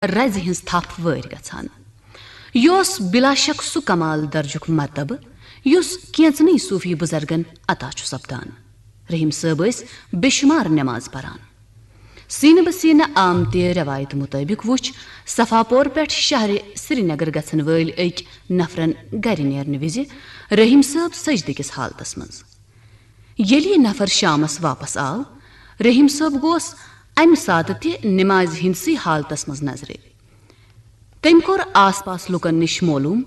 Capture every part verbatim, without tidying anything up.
رزِ ہٕنٛز تھپھ وٲرۍ گژھان۔ یہِ اوس بلا شک سُہ کمال درجُک مرتبہٕ، یُس کینژنٕے صوفی بزرگن عطا چھُ سپدان۔ رحیم صٲب ٲسۍ بے شمار نماز پران۔ سینہٕ بہ سینہٕ آمتہِ روایتہٕ مطٲبق وُچھ صفا پور پٮ۪ٹھ شہرِ سرینگر گژھن وٲلۍ أکۍ نفرن گرِ نیرنہٕ وِزِ رحیم صٲب سجدٕ کِس حالتس منٛز۔ ییٚلہِ یہِ نفر شامس واپس آو، رحیم صٲب گوس امہِ ساتہٕ تہِ نمازِ ہٕنٛدسٕے حالتس منٛز نظرِ۔ تٔمۍ کوٚر آس پاس لوٗکن نِش معلوم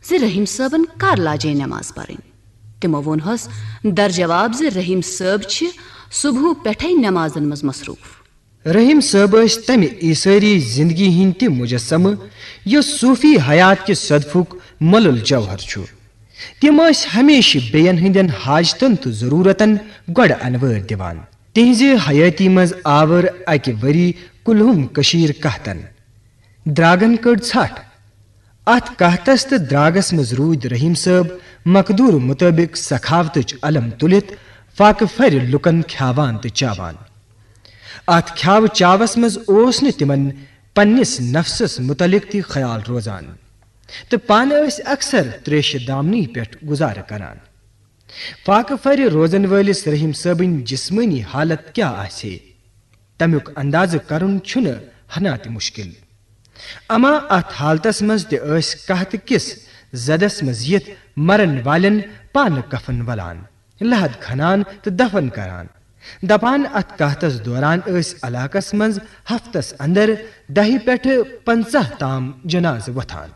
زِ رحیم صٲبن کر لاجے نماز پرٕنۍ۔ تِمو ووٚنہس در جواب زِ رحیم صٲب چھِ صبحہٕ پٮ۪ٹھے نمازن منٛز مصروف۔ رحیم صٲب ٲسۍ تمہِ عیسٲری زندگی ہٕنٛدۍ تہِ مجسمہٕ، یُس صوفی حیات کہِ صدفُک مۄلُل جوہر چھُ۔ تِم ٲسۍ ہمیشہِ بیٚین ہٕنٛدٮ۪ن حاجتن تہٕ ضروٗرتن گۄڈٕ انوٲرۍ دِوان۔ تِہنٛزِ حیٲتی منٛز آور اکہِ ؤری کُلہُم کٔشیٖر قحطن۔ درٛاگن کٔڑ ژھٹھ۔ اتھ قحطس تہٕ درٛاگس منٛز روٗدۍ رحیم صٲب مقدور مطٲبق سخاوتٕچ علم تُلِتھ فاقہٕ پھرِ لوٗکن کھیاوان تہٕ چاوان۔ اتھ کھیاوٕ چاوس منٛز اوس نہٕ تِمن پننِس نفسس متعلق تہِ خیال روزان تہٕ پانہٕ ٲسۍ اکثر تریشہِ دامنی پٮ۪ٹھ گُزارٕ کران۔ فاقہٕ پھرِ روزن وٲلِس رحیم صٲبٕنۍ جسمٲنی حالت کیٛاہ آسہِ ہے، تمیُک اندازٕ کرُن چھُنہٕ ہنا تہِ مشکل۔ اما اتھ حالتس منٛز تہِ ٲسۍ قحطہٕ کِس زدس منٛز یِتھ مرن والٮ۪ن پانہٕ کفن ولان، لحد کھنان تہٕ دفن کران۔ دپان اتھ قحطس دوران ٲسۍ علاقس منٛز ہفتس اندر دہہِ پٮ۪ٹھٕ پنژاہ تام جنازٕ وۄتھان۔